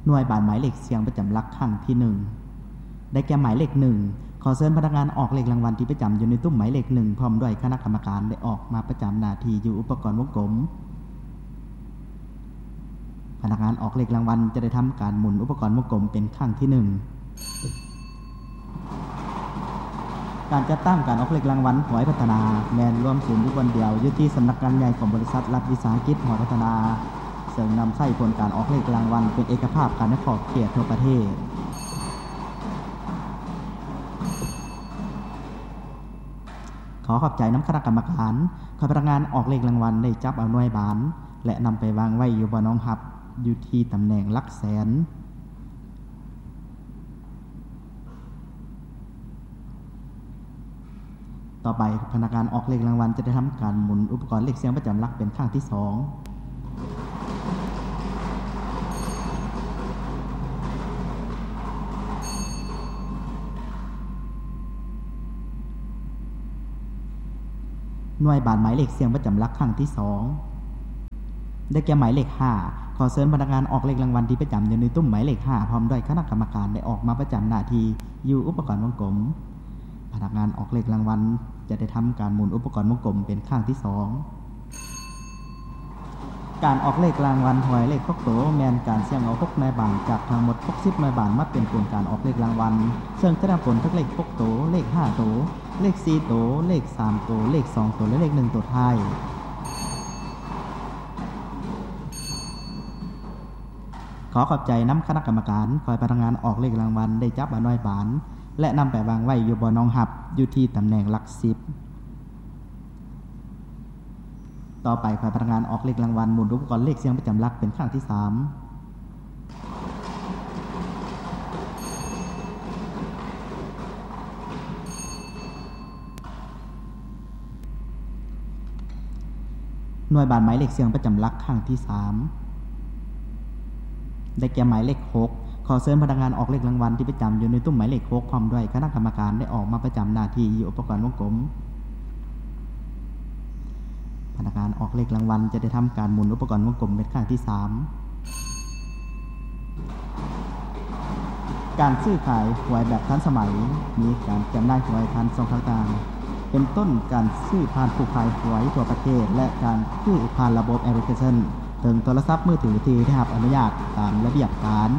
ໜ່ວຍບານໝາຍເລກສ່ຽງປະຈຳຫຼັກຄັ້ງທີໜຶ່ງ ໄດ້ແກ່ໝາຍເລກໜຶ່ງ. ຂໍເຊີນພະນັກງານອອກເລກລາງວັນທີ່ປະຈຳຢູ່ໃນຕຸ້ມໝາຍເລກໜຶ່ງ ພ້ອມດ້ວຍຄະນະກຳມະການ ໄດ້ອອກມາປະຈຳໜ້າທີ່ຢູ່ອຸປະກອນວົງກົມ. ພະນັກງານອອກເລກລາງວັນຈະໄດ້ທຳການໝູນອຸປະກອນວົງກົມເປັນຄັ້ງທີໜຶ່ງ. ການຈັດຕັ້ງການອອກເລກລາງວັນຫວຍພັດທະນາ ແມ່ນລວມສູນຢູ່ບ່ອນດຽວ ຢູ່ທີ່ສຳນັກງານໃຫຍ່ຂອງບໍລິສັດລັດວິສາຫະກິດຫວຍພັດທະນາ, ເຊິ່ງນຳໃຊ້ຜົນການອອກເລກລາງວັນເປັນເອກະພາບກັນໃນຂອບເຂດທົ່ວປະເທດ. ຂໍຂອບໃຈນຳຄະນະກຳມະການ. ຂ້ອຍພະນັກງານອອກເລກລາງວັນໄດ້ຈັບເອົາໜ່ວຍບານ ແລະ ນຳໄປວາງໄວ້ຢູ່ບ່ອນຮອງຮັບ ຢູ່ທີ່ຕຳແໜ່ງຫຼັກແສນ. ຕໍ່ໄປ, ພະນັກງານອອກເລກລາງວັນຈະໄດ້ທຳການໝູນອຸປະກອນເລກສ່ຽງປະຈຳຫຼັກເປັນຄັ້ງທີສອງ. ໜ່ວຍບານໝາຍເລກສ່ຽງປະຈຳຫຼັກຄັ້ງທີສອງ ໄດ້ແກ່ໝາຍເລກຫ້າ. ຂໍເຊີນພະນັກງານອອກເລກລາງວັນທີ່ປະຈຳຢູ່ໃນຕຸ້ມໝາຍເລກຫ້າ ພ້ອມດ້ວຍຄະນະກຳມະການ ໄດ້ອອກມາປະຈຳໜ້າທີ່ຢູ່ອຸປະກອນວົງກົມ. ພະນັກງານອອກເລກລາງວັນຈະໄດ້ທຳການໝູນອຸປະກອນວົງກົມເປັນຄັ້ງທີສອງ. ການອອກເລກລາງວັນຫວຍເລກຫົກໂຕ ແມ່ນການສ່ຽງເອົາຫົກໜ່ວຍບານຈາກທັງໝົດຫົກສິບໜ່ວຍບານມາເປັນຜົນການອອກເລກລາງວັນ, ເຊິ່ງຈະໄດ້ຜົນທັງເລກຫົກໂຕ, ເລກຫ້າໂຕ, ເລກສີ່ໂຕ, ເລກສາມໂຕ, ເລກສອງໂຕ ແລະ ເລກໜຶ່ງໂຕທ້າຍ. ຂໍຂອບໃຈນຳຄະນະກຳມະການ. ຂ້ອຍພະນັກງານອອກເລກລາງວັນໄດ້ຈັບເອົາໜ່ວຍບານ ແລະ ນຳໄປວາງໄວ້ຢູ່ບ່ອນຮອງຮັບ ຢູ່ທີ່ຕຳແໜ່ງຫຼັກສິບ. ຕໍ່ໄປ, ຂ້ອຍພະນັກງານອອກເລກລາງວັນໝູນອຸປະກອນເລກສ່ຽງປະຈຳຫຼັກເປັນຄັ້ງທີສາມ. ໜ່ວຍບານໝາຍເລກສ່ຽງປະຈຳຫຼັກຄັ້ງທີສາມ ໄດ້ແກ່ໝາຍເລກຫົກ. ຂໍເຊີນພະນັກງານອອກເລກລາງວັນທີ່ປະຈຳຢູ່ໃນຕຸ້ມໝາຍເລກຫົກ ພ້ອມດ້ວຍຄະນະກຳມະການ ໄດ້ອອກມາປະຈຳໜ້າທີ່ຢູ່ອຸປະກອນວົງກົມ. ພະນັກງານອອກເລກລາງວັນຈະໄດ້ທຳການໝູນອຸປະກອນວົງກົມເປັນຄັ້ງທີສາມ. ການຊື້ຂາຍຫວຍແບບທັນສະໄໝ, ມີການຈຳໜ່າຍຫວຍຜ່ານຊ່ອງທາງຕ່າງໆ ເປັນຕົ້ນ ການຊື້ຜ່ານຜູ້ຂາຍຫວຍທົ່ວປະເທດ ແລະ ການຊື້ຜ່ານລະບົບແອັບພລິເຄຊັນເທິງໂທລະສັບມືຖືທີ່ໄດ້ຮັບອະນຸຍາດຕາມລະບຽບການ.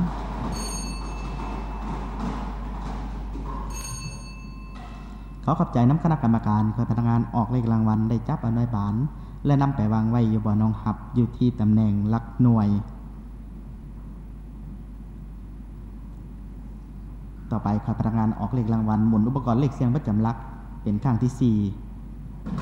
ຂໍຂອບໃຈນຳຄະນະກຳມະການ. ຂ້ອຍພະນັກງານອອກເລກລາງວັນໄດ້ຈັບເອົາໜ່ວຍບານ ແລະ ນຳໄປວາງໄວ້ຢູ່ບ່ອນຮອງຮັບ ຢູ່ທີ່ຕຳແໜ່ງຫຼັກໜ່ວຍ. ຕໍ່ໄປ, ຂ້ອຍພະນັກງານອອກເລກລາງວັນໝູນອຸປະກອນເລກສ່ຽງປະຈຳຫຼັກເປັນຄັ້ງທີສີ່.